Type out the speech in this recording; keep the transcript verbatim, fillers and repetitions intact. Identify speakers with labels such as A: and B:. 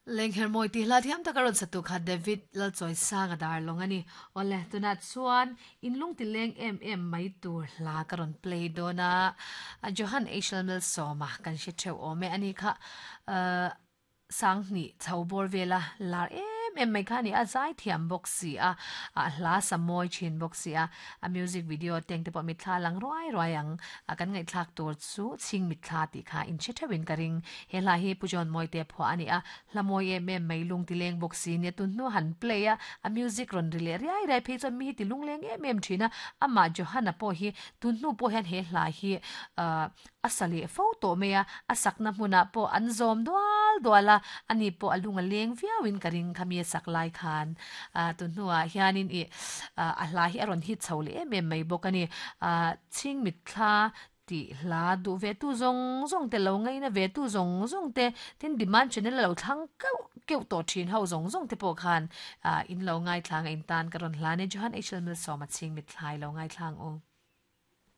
A: Lenghermawi tih hla thiam taka rawn satu kha David Lalchawisanga darlawng a ni. Awle, tunah chuan inlung ti leng em em mai tur hla ka rawn play dawn a. Johan Eichel Malsawma kan hre theuh awm e. Ani kha Sanghnih chho bawr vela lar em em mai kha a ni a, zai thiam bawk si a, a hla sa mawi thin bawk si a, a music video teng te pawh mitthla lang ruai ruai ang a, kan ngaihthlak tur chu chhing mitthla tih kha inhre theuhin ka ring. He hla hi Pu John Mawite phuah a ni a, hla mawi em em mai lung ti leng bawk si nia tun hnu han play a, a music rawn ri leh riai riai phei chuan mi hi ti lungleng em em thin a, amah Johana pawh hi tun hnu pawh hian he hla hi ahh a sa leh fo tawh mai a, a sakna hmunah pawh an zawm dual dual a, ani pawh a lung a leng viauin ka ring khami a sak lai khan ah tun hnuah hianin ih ah a hla hi a rawn hit chho leh em em mai bawk a ni. Ah chhing mitthla tih hla duh ve tu zawng zawng te lo ngaina ve tu zawng zawng te tin demand channel a lo thlang keuh keuh tawh thin ho zawng zawng te pawh khan ah in lo ngaithlang a in tan ka rawn hlan e Johan H L Milsawma chhing mitthla i lo ngaithlang u.